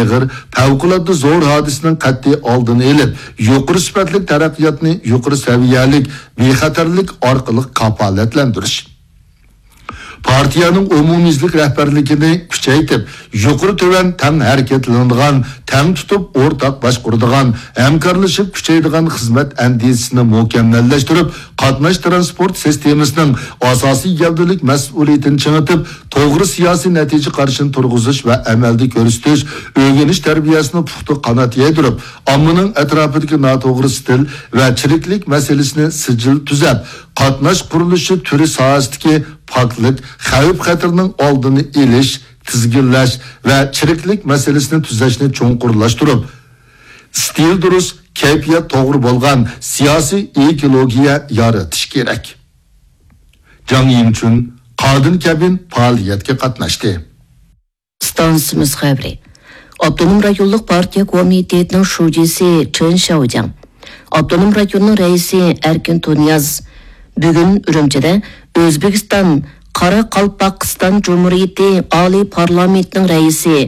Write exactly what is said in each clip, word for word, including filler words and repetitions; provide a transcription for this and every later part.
ئېغىر، پەۋقۇلئاددە زور ھادىسىنىڭ قەتئىي ئالدىنى ئېلىپ، يۇقىرى سۈپەتلىك تەرەققىياتنى يۇقىرى سەۋىيەلىك، بىخەتەرلىك ئارقىلىق كاپالەتلەندۈرۈش. پارتىيەنىڭ ئومۇميۈزلۈك رەھبەرلىكىنى كۈچەيتىپ، يۇقىرى تۆۋەن تەڭ ھەرىكەتلىنىدىغان، تەڭ تۇتۇپ ئورتاق باشقۇرىدىغان، ھەمكارلىشىپ كۈچەيدىغان خىزمەت ئەندىزىسىنى مۇكەممەللەشتۈرۈپ، قاتناش تىرانسپورت سىستېمىسىنىڭ ئاساسىي گەۋدىلىك مەسئۇلىيىتىنى چىڭىتىپ، توغرا سىياسىي نەتىجە قارىشىنى تۇرغۇزۇش ۋە ئەمەلدە كۆرسىتىش، ئۆگىنىش تەربىيەسىنى پۇختا قانات يايدۇرۇپ، ئاممىنىڭ ئەتراپىدىكى ناتوغرا ئىستىل ۋە چىرىكلىك مەسىلىسىنى سىجىل تۈزەپ، قاتناش قۇرۇلۇشى تۈرى ساھەسىدىكى پاكلىق، خەۋپ-خەتىرىنىڭ ئالدىنى ئېلىش، تىزگىنلەش ۋە چىرىكلىك مەسىلىسىنى تۈزەشنى چوڭقۇرلاشتۇرۇپ، ئىستىل دۇرۇس، كەيپىيات توغرا بولغان سىياسىي ئېكولوگىيە يارىتىش كېرەك. جاڭ يىڭچۈن قادىن كەبىن پائالىيەتكە قاتناشتى. ئىستانسىمىز خەۋىرى. ئاپتونوم رايونلۇق پارتىيە كومىتېتىنىڭ شۇجىسى چېن شياۋجياڭ، ئاپتونوم رايوننىڭ رەئىسى ئەركىن تۇنىياز بۈگۈن ئۈرۈمچىدە ئۆزبېكىستان قاراقالپاقىستان جۇمھۇرىيىتى ئالىي پارلامېنتىنىڭ رەئىسى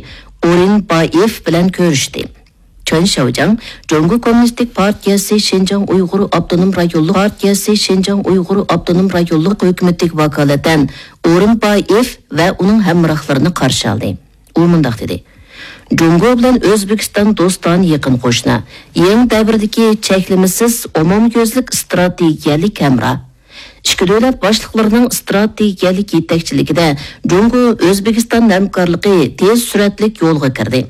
ئورۇنبايېف بىلەن كۆرۈشتى. چېن شياۋجياڭ جۇڭگو كوممۇنىستىك پارتىيەسى شىنجاڭ ئۇيغۇر ئاپتونوم رايونلۇق پارتىيەسى شىنجاڭ ئۇيغۇر ئاپتونوم رايونلۇق ھۆكۈمىتىگە ۋاكالىتەن ئورۇنبايېف ۋە ئۇنىڭ ھەمراھلىرىنى قارشى ئالدى. ئۇ مۇنداق دېدى: جۇڭگو بىلەن ئۆزبېكىستان دوستانە يېقىن قوشنا، يېڭى دەۋردىكى چەكلىمىسىز ئومۇميۈزلۈك ئىستراتېگىيەلىك ھەمراھ. ئىككى دۆلەت باشلىقلىرىنىڭ ئىستراتېگىيەلىك يېتەكچىلىكىدە جۇڭگو ئۆزبېكىستان ھەمكارلىقى تېز سۈرئەتلىك يولغا كىردى.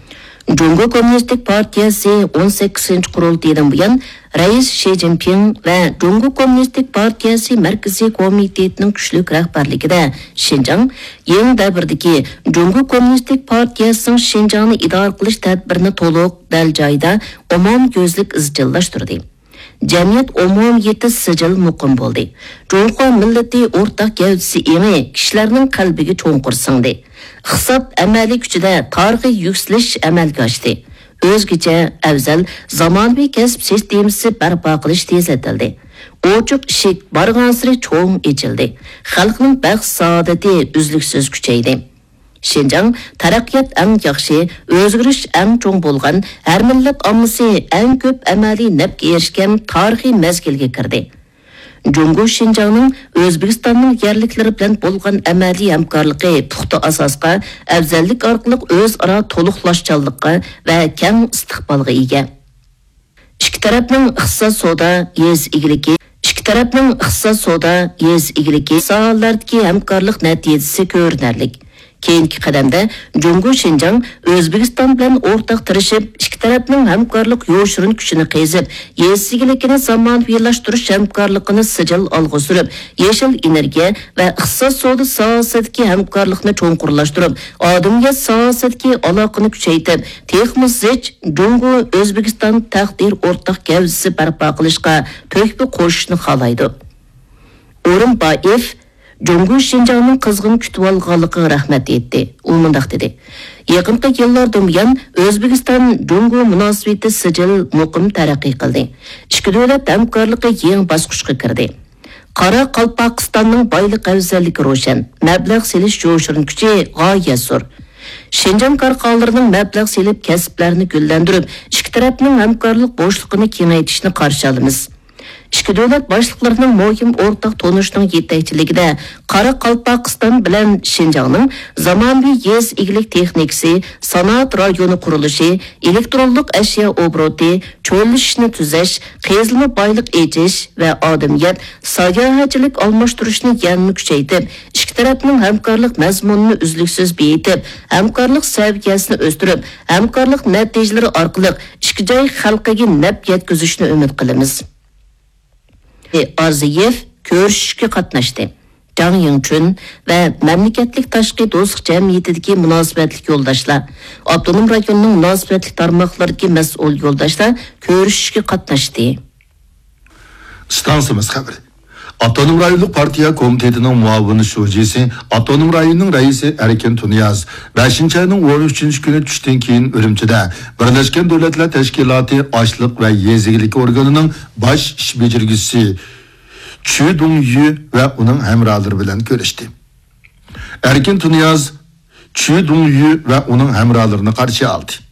جۇڭگو كوممۇنىستىك پارتىيەسى ئون سەككىزىنچى قۇرۇلتىيىدىن بۇيان، رەئىس شى جىنپىڭ ۋە جۇڭگو كوممۇنىستىك پارتىيەسى مەركىزىي كومىتېتىنىڭ كۈچلۈك رەھبەرلىكىدە شىنجاڭ يېڭى دەۋردىكى جۇڭگو كوممۇنىستىك پارتىيەسىنىڭ شىنجاڭنى ئىدارە قىلىش تەدبىرىنى تولۇق، دەل جايىدا، ئومۇميۈزلۈك ئىزچىللاشتۇردى. جەمئىيەت ئومۇمىيىتى سىجىل مۇقىم بولدى. جۇڭخۇا مىللىتى ئورتاق گەۋدىسى ئېڭى كىشىلەرنىڭ قەلبىگە چوڭقۇر سىڭدى. ئىقتىساد ئەمەلىي كۈچىدە تارىخىي يۈكسىلىش ئەمەلگە ئاشتى. ئۆزگىچە، ئەۋزەل، زامانىۋى كەسىپ سىستېمىسى بەرپا قىلىش تېزلىتىلدى. ئوچۇق ئىشىك بارغانسېرى چوڭ ئېچىلدى. خەلقنىڭ بەخت-سائادىتى ئۈزلۈكسىز كۈچەيدى. شىنجاڭ تەرەققىيات ئەڭ ياخشى، ئۆزگىرىش ئەڭ چوڭ بولغان، ھەر مىللەت ئاممىسى ئەڭ كۆپ ئەمەلىي نەپكە ئېرىشكەن تارىخىي مەزگىلگە كىردى. جۇڭگو شىنجاڭنىڭ ئۆزبېكىستاننىڭ يەرلىكلىرى بىلەن بولغان ئەمەلىي ھەمكارلىقى پۇختا ئاساسقا، ئەۋزەللىك ئارقىلىق ئۆزئارا تولۇقلاشچانلىققا ۋە كەڭ ئىستىقبالغا ئىگە. ئىككى تەرەپنىڭ ئىقتىساد، سودا، يېزا ئىگىلىكى، ئىككى تەرەپنىڭ ئىقتىساد، سودا، يېزا ئىگىلىكى ساھەلەردىكى ھەمكارلىق نەتىجىسى كۆرۈنەرلىك. كېيىنكى قەدەمدە جۇڭگو شىنجاڭ ئۆزبېكىستان بىلەن ئورتاق تىرىشىپ، ئىككى تەرەپنىڭ ھەمكارلىق يوشۇرۇن كۈچىنى قېزىپ، يېزا ئىگىلىكىنى زامانىۋىلاشتۇرۇش ھەمكارلىقىنى سىجىل ئالغا سۈرۈپ، يېشىل ئېنېرگىيە ۋە ئىقتىساد، سودا ساھەسىدىكى ھەمكارلىقنى چوڭقۇرلاشتۇرۇپ، ئادەمىيەت ساھەسىدىكى ئالاقىنى كۈچەيتىپ، تېخىمۇ زىچ جۇڭگو ئۆزبېكىستان تەقدىر ئورتاق گەۋدىسى بەرپا قىلىشقا تۆھپە قوشۇشنى خالايدۇ. ئورۇنبايېف جۇڭگو شىنجاڭنىڭ قىزغىن كۈتۈۋالغانلىقىغا رەھمەت ئېيتتى. ئۇ مۇنداق دېدى: يېقىنقى يىللاردىن بۇيان ئۆزبېكىستان جۇڭگو مۇناسىۋىتى سىجىل مۇقىم تەرەققىي قىلدى. ئىككى دۆلەت ھەمكارلىقى يېڭى باسقۇچقا كىردى. قاراقالپاقىستاننىڭ بايلىق ئەۋزەللىكى روشەن، مەبلەغ سېلىش يوشۇرۇن كۈچى غايەت زور. شىنجاڭ كارخانىلىرىنىڭ مەبلەغ سېلىپ، كەسىپلەرنى گۈللەندۈرۈپ، ئىككى تەرەپنىڭ ھەمكارلىق بوشلۇقىنى كېڭەيتىشنى قارشى ئالىمىز. ئىككى دۆلەت باشلىقلىرىنىڭ مۇھىم ئورتاق تونۇشىنىڭ يېتەكچىلىكىدە قاراقالپاقىستان بىلەن شىنجاڭنىڭ زامانىۋى يېزا ئىگىلىك تېخنىكىسى، سانائەت رايونى قۇرۇلۇشى، ئېلېكترونلۇق ئەشيا ئوبوروتى، چۆللىشىشنى تۈزەش، قېزىلما بايلىق ئېچىش ۋە ئادەمىيەت ساياھەتچىلىك ئالماشتۇرۇشنى يەنىمۇ كۈچەيتىپ، ئىككى تەرەپنىڭ ھەمكارلىق مەزمۇنىنى ئۈزلۈكسىز بېيىتىپ، ھەمكارلىق سەۋىيەسىنى ئۆستۈرۈپ، ھەمكارلىق نەتىجىلىرى ئارقىلىق ئىككى جاي خەلقىگە نەپ يەتكۈزۈشنى ئۈمىد قىلىمىز. ئارزىيېف كۆرۈشۈشكە قاتناشتى. جاڭ يىڭچۈن ۋە مەملىكەتلىك تاشقى دوستلۇق جەمئىيىتىدىكى مۇناسىۋەتلىك يولداشلار، ئاپتونوم رايوننىڭ مۇناسىۋەتلىك تارماقلىرىدىكى مەسئۇل يولداشلار كۆرۈشۈشكە قاتناشتى. ئىستانسىمىز خەۋىرى. ئاپتونوم رايونلۇق پارتىيە كومىتېتىنىڭ مۇئاۋىن شۇجىسى، ئاپتونوم رايوننىڭ رەئىسى ئەركىن تۇنىياز بەشىنچى ئاينىڭ ئون ئۈچىنچى كۈنى چۈشتىن كېيىن ئۈرۈمچىدە بىرلەشكەن دۆلەتلەر تەشكىلاتى ئاشلىق ۋە يېزا ئىگىلىكى ئورگىنىنىڭ باش ئىش بېجىرگۈچىسى چۈ دۇڭيۈ ۋە ئۇنىڭ ھەمراھلىرى بىلەن كۆرۈشتى. ئەركىن تۇنىياز چۈ دۇڭيۈ ۋە ئۇنىڭ ھەمراھلىرىنى قارشى ئالدى.